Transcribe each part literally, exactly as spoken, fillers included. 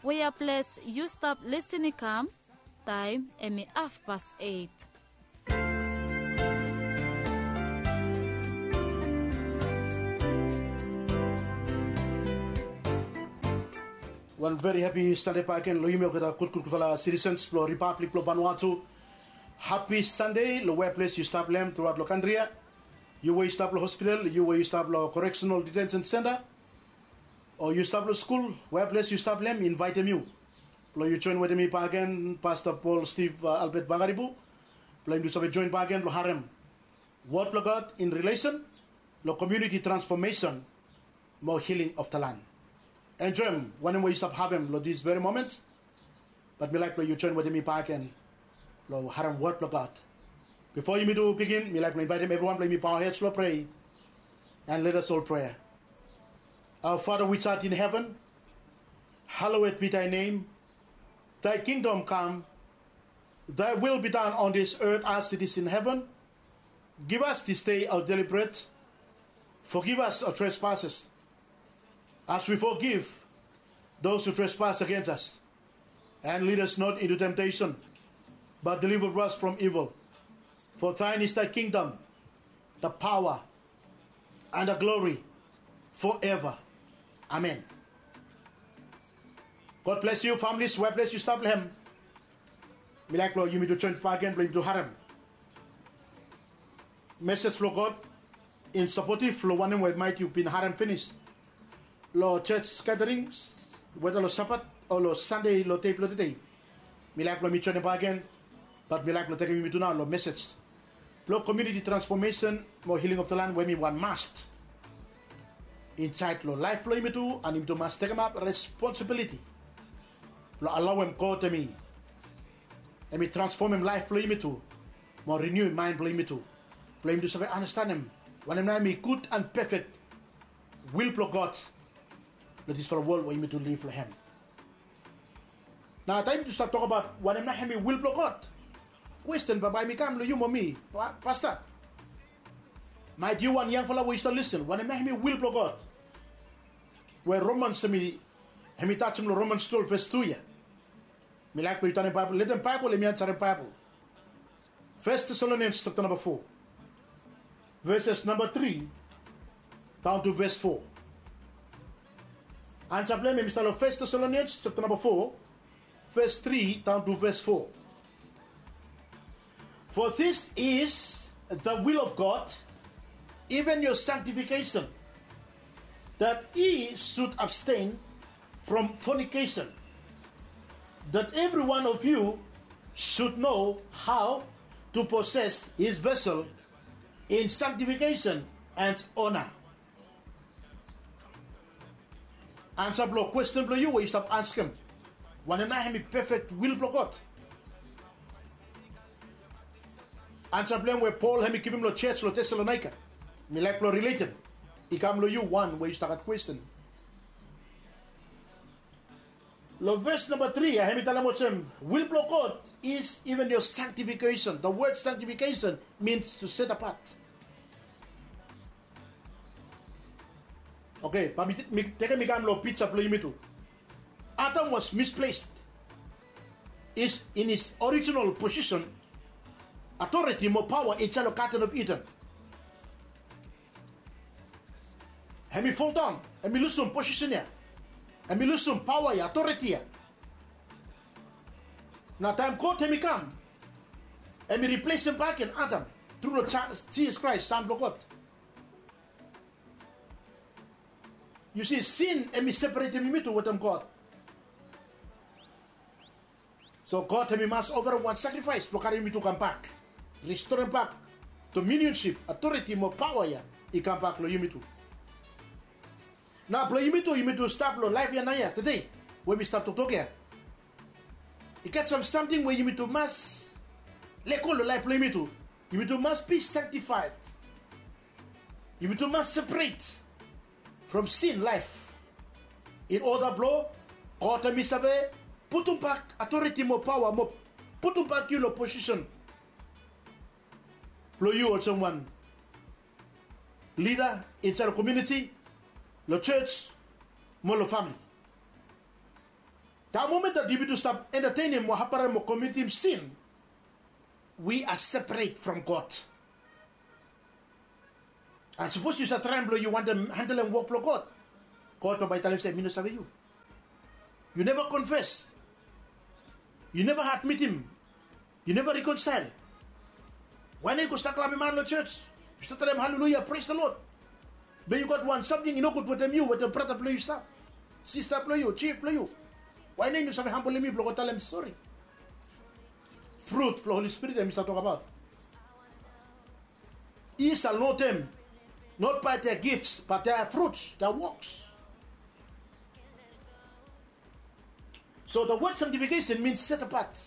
Wea ples yu stap lisin i kam, taem hemi hafpas eit. Wan veri hapi Sande bakegen long yumi olgeta gudgud gudfala sitisens blong Ripablik blong Vanuatu. Hapi Sande long wea ples yu stap long hem truaot long kantri ya. Yu we yu stap long hospital, yu we yu stap long koreksenal ditensen senta, o yu stap long skul, wea ples yu stap long hem, mi invaetem yu blong yu joen wetem mi bakegen, Pasta Paul Steve, a, Albert Vakaribu, blong yumi tu save joen bakegen blong harem wod blong God in rilesen long komuniti transfomesen mo hiling of the land. Enjoem wanem we yu stap havem long dis veri moment. Bat mi laek blong yu joen wetem mi bakegen blong harem wod blong God. Bifo yumi tu bigin, mi laek blong invaetem evriwan blong yumi bow heads long prea. And let us all pray. Our Father which art in heaven, hallowed be thy name. Thy kingdom come. Thy will be done on this earth as it is in heaven. Give us this day our daily bread. Forgive us our trespasses, as we forgive those who trespass against us. And lead us not into temptation, but deliver us from evil. For thine is thy kingdom, the power, and the glory forever. Amen. God bless you, families, wea ples yu stap long hem. Mi laek blong yumi tu joen bakegen blong yumi tu harem mesej blong God in sapotiv long wanem we maet yu bin harem finis long jos gaderings, weda long Sabat o long Sande long dei blong tede. Mi laek blong mi joenem bakegen, bat mi laek blong tekem yumi tu nao long mesej blong komuniti transfomesen mo hiling of the land we hemi wan must insaed long laef blong yumi tu, and yumi tu mas tekemap responsibiliti blong alaoem God hemi, hemi transfomem laef blong yumi tu mo riniuem maen blong yumi tu, blong yumi tu save andastanem wanem nao hemi gud and pefek wil blong God long disfala wol we yumi tu liv long hem. Nao taem yumi tu stap tokbaot wanem nao hemi wil blong God, kwesten bambae hemi kam long yu mo mi, pa-, pasta. Maet yu wan yangfala we yu stap lisin, wanem nao hemi wil blong God? We Romans hemi, hemi tajem long Romans twelve ves tu ya. Mi laek blong yu tanem Baebol, letem Baebol hemi ansarem Baebol. Fes Tesalonians japta namba fo, veses namba tri daon tu ves fo. Ansa blong hem hemi stap long Fes Tesalonians japta namba fo, ves tri daon tu ves fo. For this is the will of God, even your sanctification, that ye should abstain from fornication, that every one of you should know how to possess his vessel in sanctification and honor. Ansa blong kwesten blong yu we yu stap askem, wanem nao hemi pefek wil blong God? Ansa blong hem we Pol hemi givim long jos long Tesalonaika, mi laek blong riletem i kam long yu wan we yu stap gat kwesten. Long ves namba tri ya, hemi talem olsem, will blong God is even your sanctification. The word sanctification means to set apart. Oke, bae mi, mi tekem i kam long pija blong yumi tu. Adam was misplaced is in his original position, authority mo paoa insaed long Garden of Eden. Hemi foldaon, hemi lusum posisen ya, hemi lusum paoa ya, authority ya. Nao taem God hemi kam, hemi riplesem bakegen Adam tru long Jisas Kraes, San blong God. Yu si, sin hemi separetem yumi tu wetem God. So God hemi mas ofarem wan sakrifaes blong karem yumi tu kambak, restorem bak dominionsip, authority mo paoa ya i kambak long yumi tu. Nao blong yumi tu, yumi tu stap long laef ya naoia, tede we mi stap toktok ya, i gat sam samting we yumi tu mas lego long laef blong yumi tu. Yumi tu mas be sanctified. Yumi tu mas separet from sin laef, in oda blong God hemi save putumbak authority mo paoa mo putumbak yu long posisen blong yu olsem wan lida insaed long komuniti, long jos mo long famle. That moment that yumi tu stap entertain him mo haparem mo committing sin, we are separate from God. And sapos yu stap traem blong yu wantem handlem wok blong God, God bambae i talem se mi no save yu. Yu neva confess. Yu neva admit him. Yu neva reconcile. Wae nao yu go stap klapim han long church? Yu stap talem haleluya, praise the Lord. Be yu gat wan samting i nogud wetem yu, wetem brata blong yu stap, sista blong yu, chief blong yu. Wae nao yu no save hambolem yu blong go talem sori? Fruit blong Holy Spirit em i stap tokbaot. I sal know them not by their gifts, but their fruits, their works. So the word sanctification means set apart.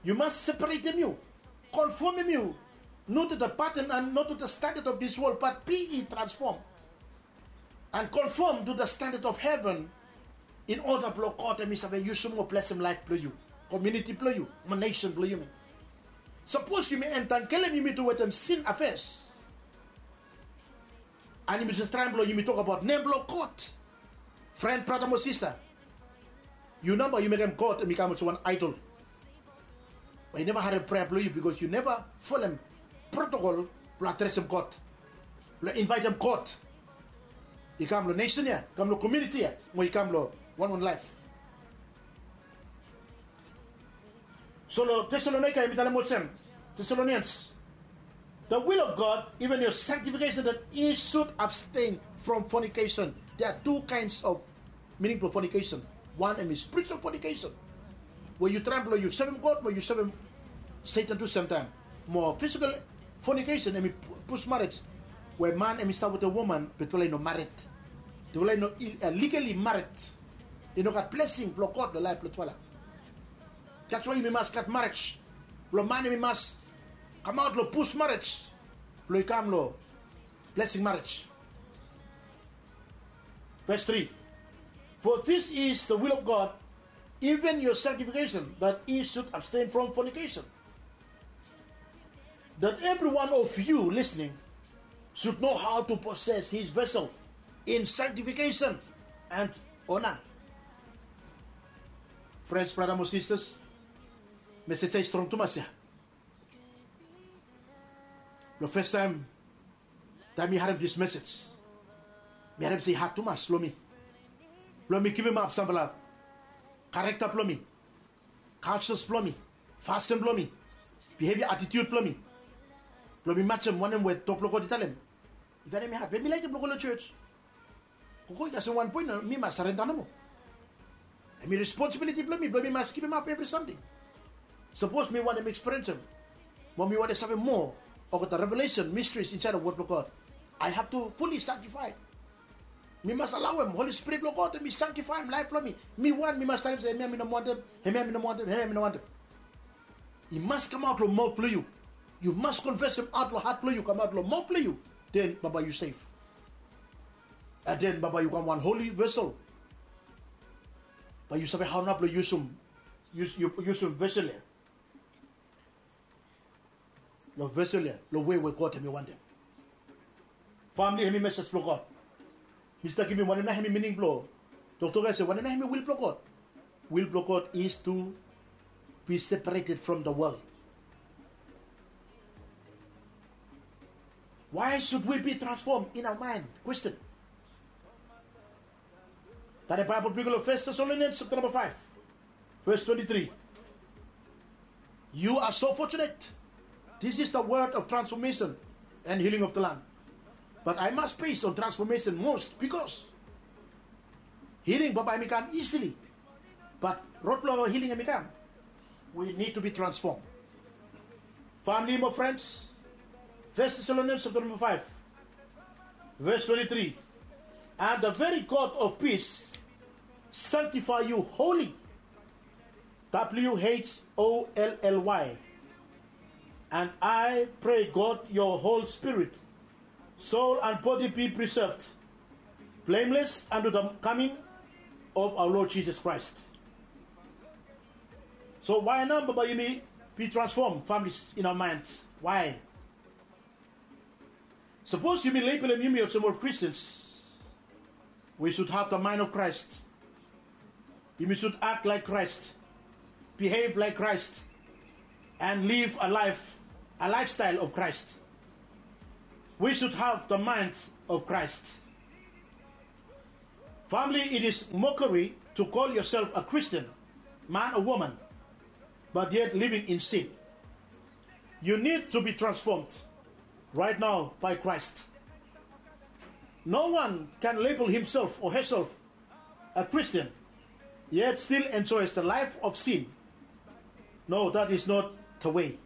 Yu mas separatem yu, konfomem yu, not to the pattern and not to the standard of this world, but be ye transformed and conform to the standard of heaven, in order blong God em i save yusum mo blesem laef blong yu, komuniti blong yu, mo nesen blong yumi. Sapos yumi entangelem yumi tu wetem sin afes, and yumi jes traem blong yumi tokbaot nem blong God, fren, brata mo sista, yu namba yu mekem God em i kam olsem wan aedol. Bae yu neva harem prea blong yu, bikos yu neva folem protokol blong adresem God, blong invaetem God i kam long nesen ya, i kam long komuniti ya, mo i kam long wanwan laef. So long Tesalonaika em i talem olsem, Thessalonians, the will of God, even your sanctification, that ye should abstain from fornication. There are two kinds of meaning blong fornication. Wan em i spiritual fornication, we yu traem blong yu sevem God mo yu sevem Satan tu semtaem. Mo physical fornication em i pus marriage, we man em i stap wetem woman be tufala i no mared. Tufala i no legally mared. I no gat blesing blong God long laef blong tufala. That's why yumi mas gat marriage. Blong man em i mas kamaot long pus marriage blong i kam long blesing marriage. Verse three. For this is the will of God, even your sanctification, that ye should abstain from fornication. That every one of you listening should know how to possess his vessel in sanctification and honor. Frens, brata mo sistas, mesej ya i strong tumas ya. Long fes taem, taem mi harem this message, mi harem se i had tumas long mi blong mi givim ap samfala karekta blong mi, cultures blong mi, fasin blong mi, behavior, attitude blong mi, blong mi majem wanem we tok blong God i talem. I verim had, be mi laekem blong go long church. Gogo i kasem wan poen, mi mas sarenda nomo. Em i responsibiliti blong mi blong mi mas givim ap evri samting. Sapos mi wantem ekspiriensem mo mi wantem save moa olgeta revelation, mysteries insaed long wod blong God, I have to fully sanctify. Mi mas alaoem Holy Spirit blong God em i sanctifyem laef blong mi. Mi wan mi mas talem se hemia mi no wantem, hemia mi no wantem, hemia mi no wantem. I mas kamaot long maot blong yu. Yu mas konfesem aot long hat blong yu, kamaot long maot blong yu. Den bambae yu sef. And then bambae yu kam wan holy vessel. Bae yu save hao nao blong yusum, yusum vessel ya. Long vessel ya long wei we God em i wantem. Famili, em i message blong God. Mi stap givim wanem nao em i meaning blong toktok ya se wanem nao em i will blong God. Will blong God is to be separated from the world. Why should we be transformed in our mind? Question. Tade Baebol blo yu long First Thessalonians chapter number five, verse twenty-three. You are so fortunate. This is the word of transformation and healing of the land. But I must base on transformation most because healing bambae hemi kam easily. But rod blo healing hemi kam, we need to be transformed. Family mo friends, First Thessalonians chapter number five, verse twenty-three. And the very God of peace sanctify you wholly. W H O L L Y. And I pray God your whole spirit, soul and body be preserved blameless unto the coming of our Lord Jesus Christ. So why nao bambae yumi be transform, families, in our mind? Why? Sapos yumi labelem yumi olsem ol Christians, we should have the mind of Christ. Yumi should act like Christ, behave like Christ, and live a life, a lifestyle of Christ. We should have the mind of Christ. Family, it is mockery to call yourself a Christian, man or woman, but yet living in sin. You need to be transformed right now by Christ. No one can label himself or herself a Christian, yet still enjoys the life of sin. No, that is not the way.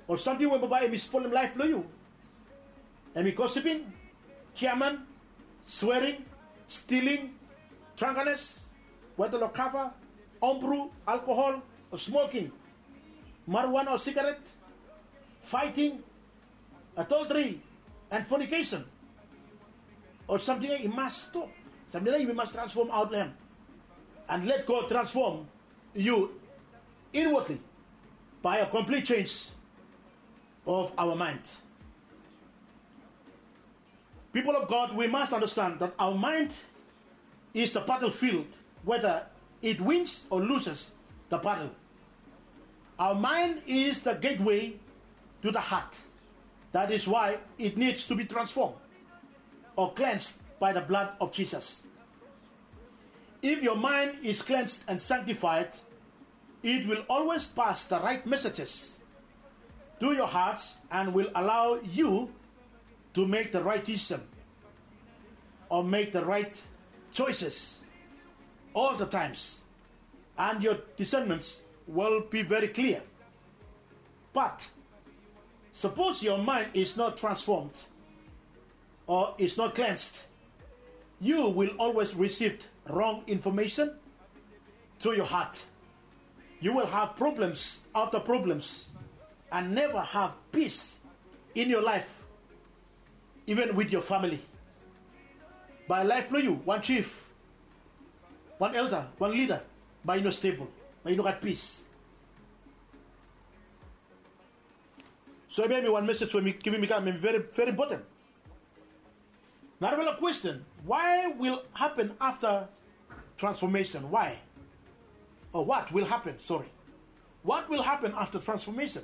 Ol samting we bambae hemi spolem laef blong yu, hemi gossiping, giaman, swearing, stealing, drunkenness, weta long kava, homebrew, alcohol, smoking, marijuana o cigarette, fighting, adultery, and fornication. Ol samting ia i mas stop. Samting ia yumi mas transform aot long hem. And let God transform you inwardly by a complete change of our mind. People of God, we must understand that our mind is the battlefield, whether it wins or loses the battle. Our mind is the gateway to the heart. That is why it needs to be transformed or cleansed by the blood of Jesus. If your mind is cleansed and sanctified, it will always pass the right messages to your hearts and will allow you to make the right decision or make the right choices all the times, and your discernments will be very clear. But suppose your mind is not transformed or is not cleansed, you will always receive wrong information to your heart. You will have problems after problems and never have peace in your life, even with your family. Bae laef blong yu, wan chief, wan elder, wan leader, bae i no stable, bae i no gat peace. So hemia hemi wan message we mi givim i kam, hemi very, very important. Narafala question, why will happen after transformation? Why? Or what will happen? Sorry. What will happen after transformation?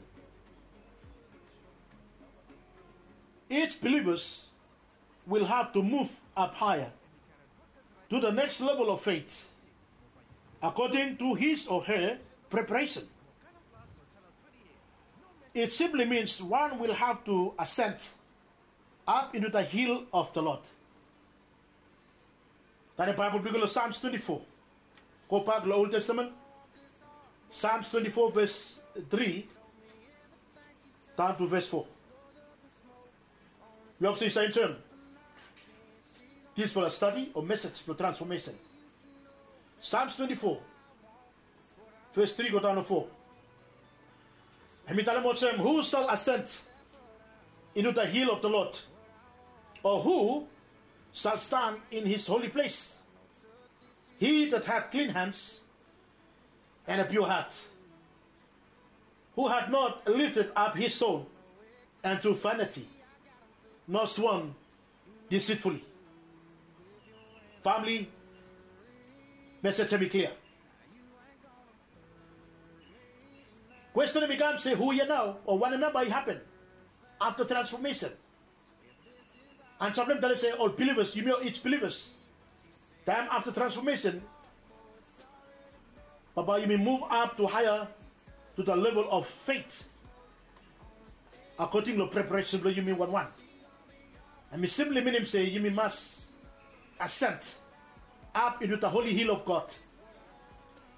Each believers will have to move up higher to the next level of faith according to his or her preparation. It simply means one will have to ascend up into the hill of the Lord. Tanem Baebol blong yu go long Psalms twenty-four. Gobak long Old Testament. Psalms twenty-four, verse three down to verse four. Mi hop se yu save enjoem disfala stadi o message blong transformation. Psalms twenty-four, verse three go down long four. Hemi talem olsem, "Who shall ascend into the hill of the Lord? Or who shall stand in his holy place? He that hath clean hands and a pure heart, who hath not lifted up his soul unto vanity, nor sworn deceitfully." Family, message hemi klia. Question hemi kam se, hu ia nao o wanem nao bae i hapen afta transfomesen? Ansa blong hem talem se ol bilivas, yumi ol each bilivas, taem afta transfomesen, bambae yumi muv ap tu haea, tu the level of faith, akoding long preparesen blong yumi wanwan. Hemi simply minim se yumi mas ascend up into the holy hill of God.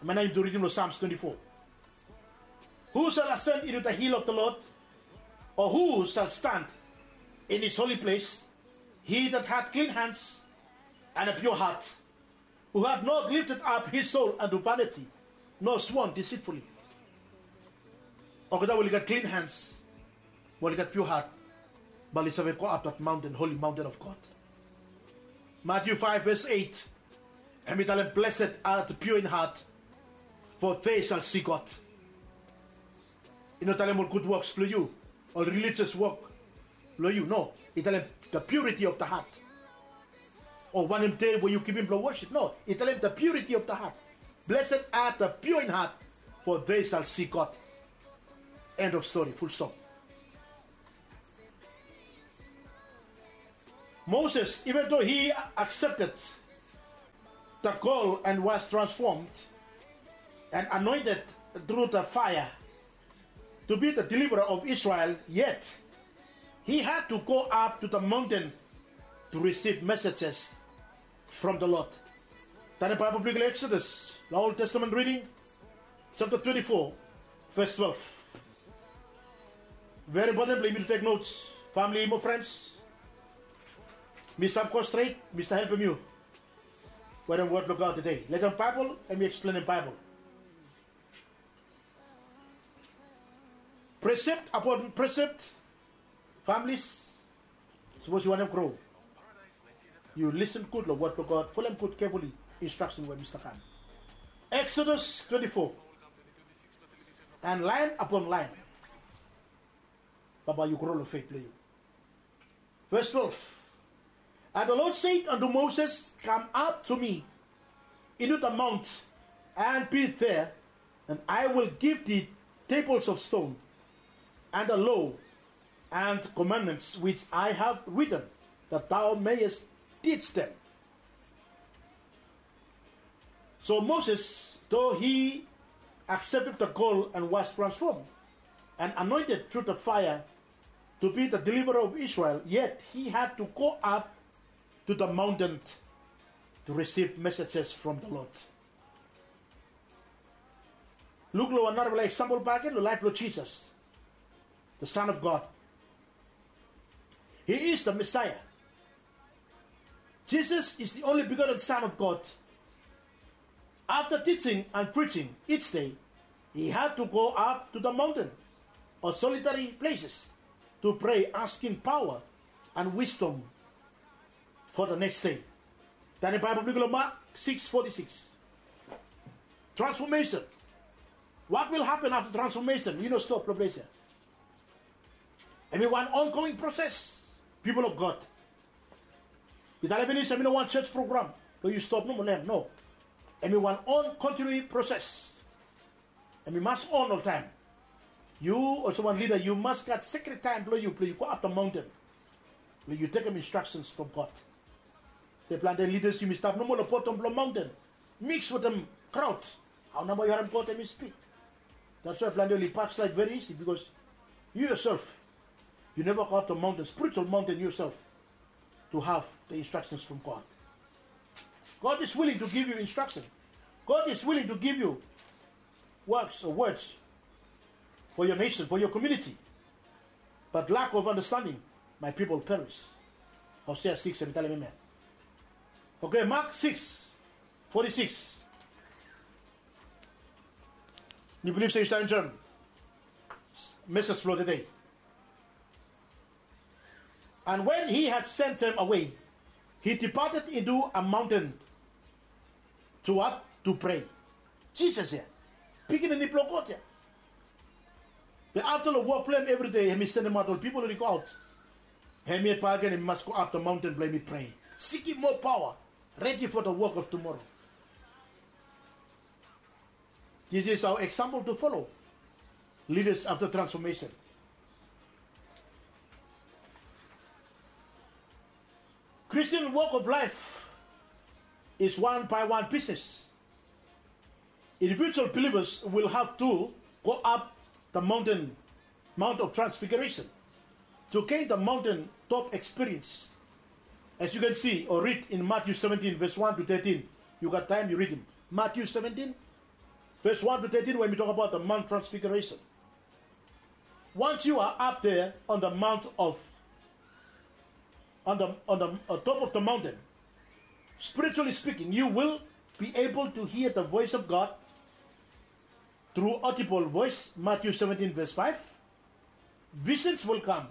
Hemia nao yumi tu ridim long Psalms twenty-four. Who shall ascend into the hill of the Lord? Or who shall stand in his holy place? He that hath clean hands and a pure heart, who hath not lifted up his soul unto vanity, nor sworn deceitfully. Olgeta we oli gat clean hands, we oli gat pure heart, bae oli save go up that mountain, holy mountain of God. Matthew five verse eight, hemi talem, "Blessed are the pure in heart, for they shall see God." I no talem ol gud woks blong yu, ol religious wok blong yu, no. I talem the purity of the heart. O wanem dei we yu givim blong worship? No, i talem the purity of the heart. Blessed are the pure in heart, for they shall see God. End of story, full stop. Moses, even though he accepted the call and was transformed and anointed through the fire to be the deliverer of Israel, yet he had to go up to the mountain to receive messages from the Lord. Tande Baebol blong yu long Exodus, long Old Testament reading, chapter twenty-four, verse twelve. Very important blong yumi to take notes, family mo friends. Mi stap go stret, mi stap helpem yu wetem word blong God tede. Long Baebol, hemi eksplenem Baebol. Precept upon precept, families, sapos yu wantem gro, yu listen gud long word blong God, folem gud carefully instruction we mi stap kam. Exodus twenty-four, and line upon line, bambae yu gro long faith blong yu. Verse twelve. And the Lord said unto Moses, come up to me into the mount, and be there, and I will give thee tables of stone, and the law and commandments which I have written, that thou mayest teach them. So Moses, though he accepted the call and was transformed and anointed through the fire to be the deliverer of Israel, yet he had to go up to the mountain to receive messages from the Lord. Luk long wan narafala example bakegen long laef blong Jisas, the Son of God. He is the Messiah. Jesus is the only begotten Son of God. After teaching and preaching each day, he had to go up to the mountain or solitary places to pray, asking power and wisdom for the next day. Tande Baebol blong yu long Mark six forty-six. Transformation. What will happen after transformation? Yu no stop long ples ya. Hemi wan ongoing process, people of God. Mi talem finis, hemi no wan church program blong yu stop nomo long hem, no. Hemi wan on continuing process. Hemi mas on oltaem. Yu olsem wan lida, yu mas gat secret taem blong yu, blong yu go up the mountain, blong yu tekem instructions from God. Plante lidas yumi stap nomo long bottom blong maonten, miks wetem kraod. Hao nao yu harem God hemi spik? That's why plante oli bakslaed very easy, because yu yourself, yu neva go up the mountain, spiritual mountain yourself, to have the instructions from God. God is willing to give you instruction. God is willing to give you works or words for your nation, for your community. But lack of understanding, my people perish. Hosea six hemi talem hemia. Okay, Mark six forty-six. Mi bilif se yu save enjoem mesej blong tede. And when he had sent them away, he departed into a mountain to what? To pray. Jisas ya, pikinini blong God ya. Be afta long wok blong hem evri dei, hemi sendemaot ol pipol oli go aot. Hemi yet bakegen hemi mas go up the mountain blong hemi prea, sikim moa paoa, redi for the work of tomorrow. This is our example to follow. Leaders after transformation. Christian walk of life is one by one business. Individual believers will have to go up the mountain, Mount of Transfiguration, to gain the mountain top experience. As you can see or read in Matthew seventeen, verse one to thirteen. Yu gat taem, yu ridim. Matthew seventeen, verse one to thirteen, we hemi tokbaot the Mount Transfiguration. Once you are up there on the mount of, on the, on the, uh, top of the mountain, spiritually speaking, you will be able to hear the voice of God through audible voice, Matthew seventeen, verse five. Visions will come,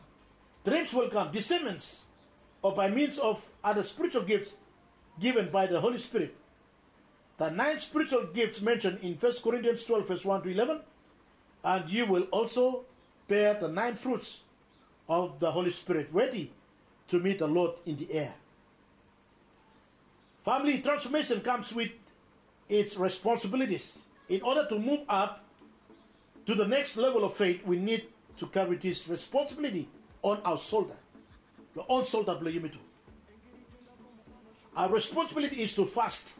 dreams will come, discernments, or by means of other spiritual gifts given by the Holy Spirit. The nine spiritual gifts mentioned in First Corinthians twelve, verse one to eleven, and you will also bear the nine fruits of the Holy Spirit, ready to meet the Lord in the air. Family transformation comes with its responsibilities. In order to move up to the next level of faith, we need to carry this responsibility on our shoulder. Long own shoulder blong yumi tu. Our responsibility is to fast.